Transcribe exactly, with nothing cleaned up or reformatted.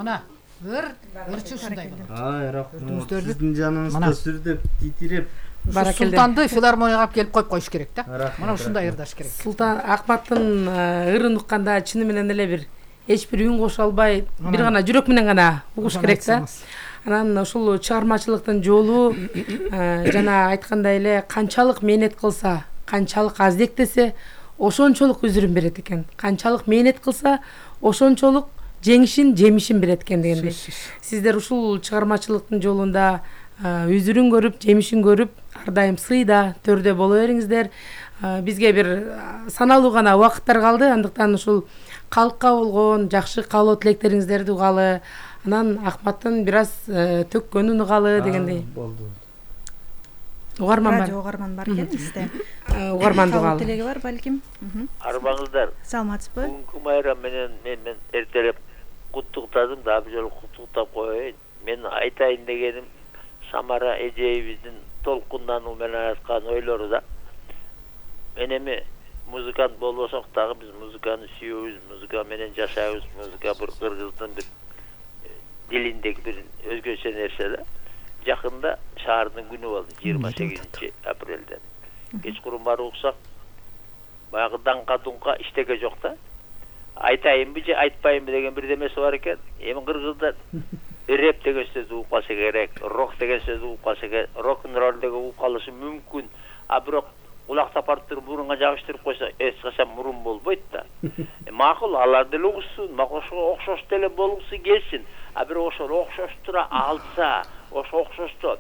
Мына ыр ырчы ушундай болот. Ай, рахмат. Сиздин жаныңызда сүрдөп, титиреп. Султанды филармонияга алып келип коюп коюш керек да. Мына ушундай ырдаш керек. Султан Акматтын ырын укканда чыны менен эле бир эч бир үн кошо албай, бир гана жүрөк менен гана угуш керек да. Анан ушул чыгармачылыктын жолу жана айткандай эле канчалык мээнет кылса, канчалык аздектесе, ошончолук үзүрүн берет экен. Канчалык мээнет кылса, ошончолук жеңишин, жемишин берет экен дегендей. Сиздер ушул чыгармачылыктын жолунда үзүрүн көрүп, жемишин көрүп, ар дайым сыйда, төрдө боло бериңиздер. Бизге бир саналуу гана убакыттар калды, андыктан ушул калкка болгон жакшы каалоо тилектериңиздерди угалы, анан Акматтын бир аз төккөнүн угалы дегендей. Болду. Угарман бар. Радио угарман бар экен бизде. Угарманды угалы. Телеги бар балким. Арбаңыздар. Саламатсызбы? Бүгүнкү майрам менен мен эртелеп куттуктадым, дагы бир жолу куттуктап коеюн. Мен айтайын дегеним Самара эжебиздин толкундануу менен айткан ойлору да. Мен эми музыкант болбосок дагы биз музыканы сүйөбүз, музыка менен жашайбыз. Музыка бир кыргыздын бир дилиндеги бир өзгөчө нерсе да. Жакында шаардын күнү болду, жыйырма сегизинчи апрелден. Кечкурун барып уксак, баягы даңка-дунка иштеге жок да. Айтайынбы же айтпайынбы деген бирдемеси бар экен. Эми кыргыздар рэп деген сөздү угуп калса керек, рок деген сөздү угуп калса керек, рок-н-ролл деген угуп калышы мүмкүн. А бирок кулак сапартырып мурунга жабыштырып койсо эч качан мурун болбойт да. Макул, алар деле угушсун, ошого окшош деле болгусу келсин. А бирок ошол окшоштура алса, ошо окшошту